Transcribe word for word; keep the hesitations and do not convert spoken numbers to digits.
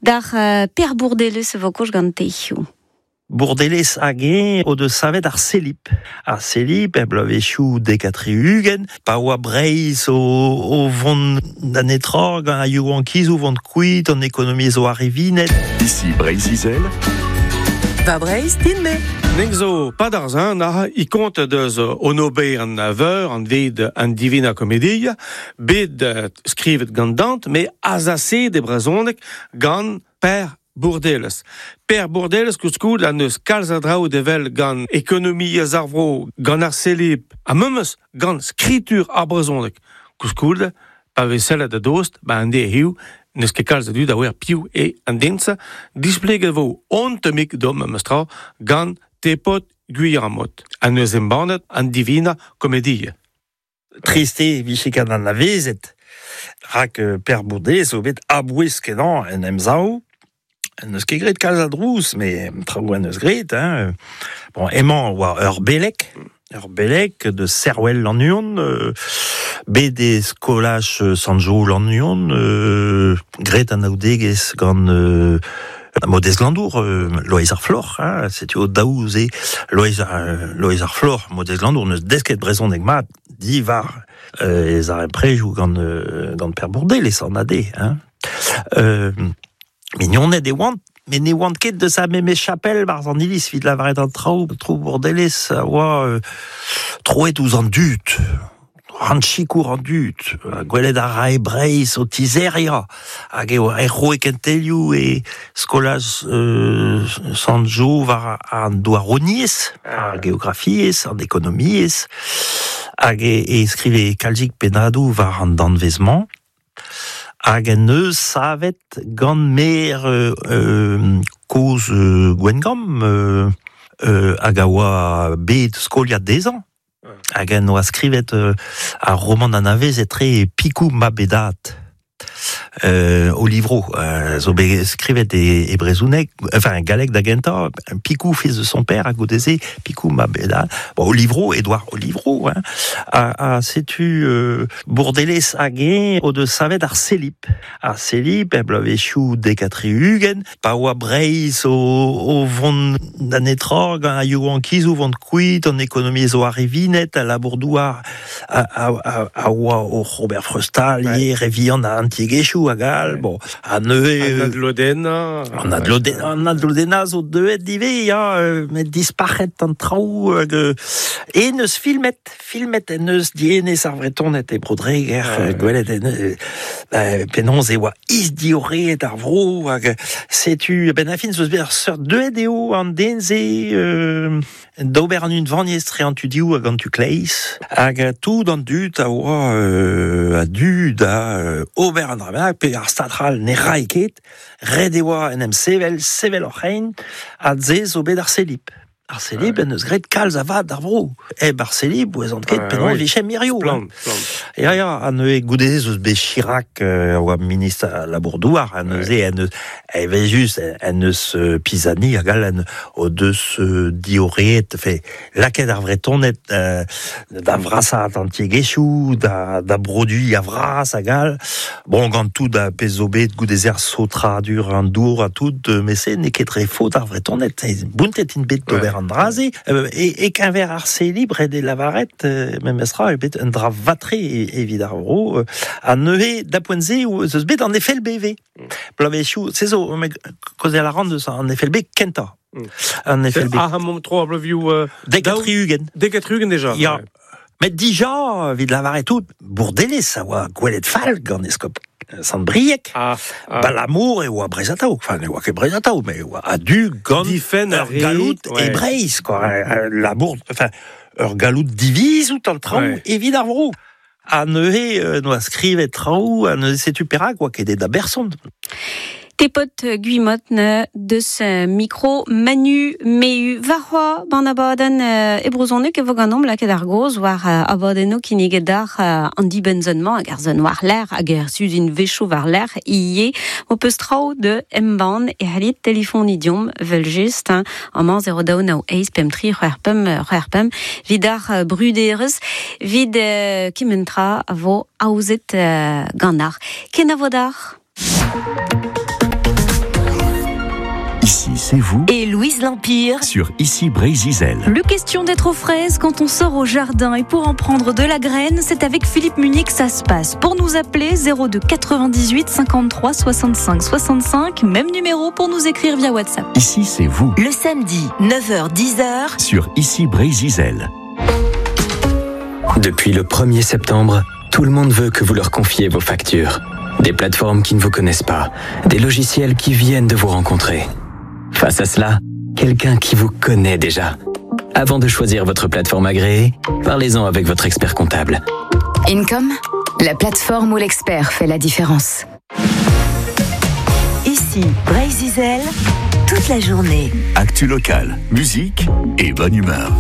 D'ar uh, Per Bourdeles vo koch gant teioù. Bourdeles hag eñ o deus savet ar Celip. Ar Celip, e bloavezhioù dek ha tri-ugent, pa oa Breizh o, o vont da netra gant ar youankiz o vont kuit, an ekonomiezh o arrivinet. Ici Breizh-Izel. Va Breizh, din-me. Nek zo padarzan a i kont deus on ober an veur an ved an Divina Commedia, bet skrivet gant Dante, me azase de brezhoneg gant Per Bourdeles. Per Bourdeles koulskoulde an eus kalz a draoù devel gant ekonomiezh ar vro, gant ar Celip, ha memes gant skritur ar brezhoneg. Koulskoulde, pa vez sellet da dost, ba an de hiu, n'eus ket kalz a dud a oer piv e an densa, displeget vo ontemik dom memes tra gant Tepod Gwilhamot, an eus embannet an Divina Commedia. Triste vije gant an avezet, rak Per Bourdeles o bet abouez kenañ en emsav. N'eus ket graet kalz a drouz, mais traoù an eus graet. Hein. Bon, emañ oa ur belek, ur belek de Serwel Lannuon, euh, bet e skolaj Sanjo Lannuon, euh, graet an aoudegezh gant euh, Modez Glandour, euh, Loeiz ar Floc'h, hein, setu o daou ze Loeiz ar, Loeiz ar Floc'h, Modez Glandour, neus desket brezhoneg mat diwar euh, ez ar prejoù gant, euh, gant Per Bourdeles an ade. Hein. Euh, Mignoned e oant, met ne oant ket deus a memes chapel barzh an iliz evit lavaret an traoù, tro Bourdeles a oa euh, troet ouzh an dud, an chikour an dud, gwelet a rae Breizh o tizeria, hag eo e roe kentelioù e skolaj euh, Sant-Jo war an douaroniezh, ar geografiezh, an ekonomiezh, hag e, e skrive kalzik pennadoù war an danvez-mañ. Hag en eus savet gant mer euh, euh, koz euh, Gwengamp euh, euh, hag a oa bet skoliad dezhañ. Hag en oa skrivet euh, ar roman anavez etre Pikou Mabedat. Euh, o livro, euh, zo bet skrivet e, e brezhoneg, enfin galleg da gentañ, Pikou, fils de son père, a goudeze, Pikou Mabedat. Bon, o livro, Edouard Olivro, hein, a, a setu euh, Bourdeles hag eñ o deus savet ar Celip. Ar Celip, e bloavezhioù dek ha tri-ugent, pa oa Breizh o, o vont da netra, gant ar youankiz o vont kuit, an ekonomiezh o arrivinet, a labour-douar a, a, a, a oa o Robert Freustal, ouais. Revian a antiegezhioù hag all, bon, a neuze... An adlodena... An adlodena, an adlodena zo deuet ivez, ya, met dispac'het an traoù, hag, e neus filmet, filmet en eus dienez ar Vretoned e Bro-Dreger, ouais. Gwelet en eus, penaos e oa isdioreet ar vro, hag setu, ben a fin zo bet ar seurt deuet eo an den ze, euh, d'ober an unvaniezh tre an tudioù hag an tu kleiz, hag tout an dud a oa euh, a du da euh, ober an dra pe ar stadral ne rai ket, ret e oa en em sevel, sevel oc'h ein, ha ze zo bet ar Celip. Ar Celip en eus graet kalz a vad d'ar vro. Eb ar Celip, oez an ket, Ah, penaos oui. vije mirio. Splann, splann. Ya, ya, a neuze goudeze eus bet Chirac euh, oa ministr a labour-douar, a neuze en eus, evel just, en eus euh, Pisani hag all en o deus euh, dioreet, fe, lakaet ar Vretoned euh, da vrasaat an tiegezhioù, da, da produiñ a vras hag all. Bon, gant tout a pezh zo bet goudeze ar saotradur an dour ha tout, euh, met se n'eo ket re faot ar Vretoned, bountet int bet d'ober an draze, euh, e, e keñver ar Celib ret e lavaret, euh, memes ra, e bet un dra vatre evit ar vro, euh, a neuze da poent-se eus eus bet an F L B V. Bloavezhioù, se zo, me kaozeal a ran deus an F L B kentañ. Mm. An F L B. Ah, mont tro ar bloavezhioù... Euh, Dek ha tri-ugent. Dek ha tri-ugent déjà. Ya. Ouais. Met dija, evit lavaret tout, Bourdeles a oa gwelet fall gant eskob Sant-Brieg. Ah, ah. Balamour e oa Breizh Atao. Enfin, ne oa ket Breizh Atao, mais e oa a-du gant Difenn ur ar re, galloud ouais. e Breizh, quoi. Labour, enfin, ur galloud divizout an traoù Ouais. evit ar vro. A neuze, euh, noa skrivet traoù, a neuze setu perak, oa ket da berson. Tepod Gwilhamot ne deus micro Manu Mehu varroa ban abadenn e brezhoneg e vo ganeomp lakaet ar goz war abadennoù kinniget d'ar an dibenn-mañ hag ar zon war l'air hag ar suzin vechoù war l'air ie o peus traoù de embann e c'hallit telefon idiom vel just hein, amañ zéro daou nav eizh pemp tri c'hwec'h pemp c'hwec'h pemp vid ar bruderez vid kementra a vo aozet ganar. Kenavo d'ar. c'est vous et Louise L'Empire sur Ici Breizh Izel. Le question d'être aux fraises quand on sort au jardin et pour en prendre de la graine, c'est avec Philippe Munier que ça se passe. Pour nous appeler, zéro deux quatre-vingt-dix-huit cinquante-trois soixante-cinq soixante-cinq, même numéro pour nous écrire via WhatsApp. Ici c'est vous. Le samedi, neuf heures dix heures sur Ici Breizh Izel. Depuis le premier septembre, tout le monde veut que vous leur confiez vos factures. Des plateformes qui ne vous connaissent pas, des logiciels qui viennent de vous rencontrer. Face à cela, quelqu'un qui vous connaît déjà. Avant de choisir votre plateforme agréée, parlez-en avec votre expert comptable. Income, la plateforme où l'expert fait la différence. Ici, Breizh Izel, toute la journée. Actu locale, musique et bonne humeur.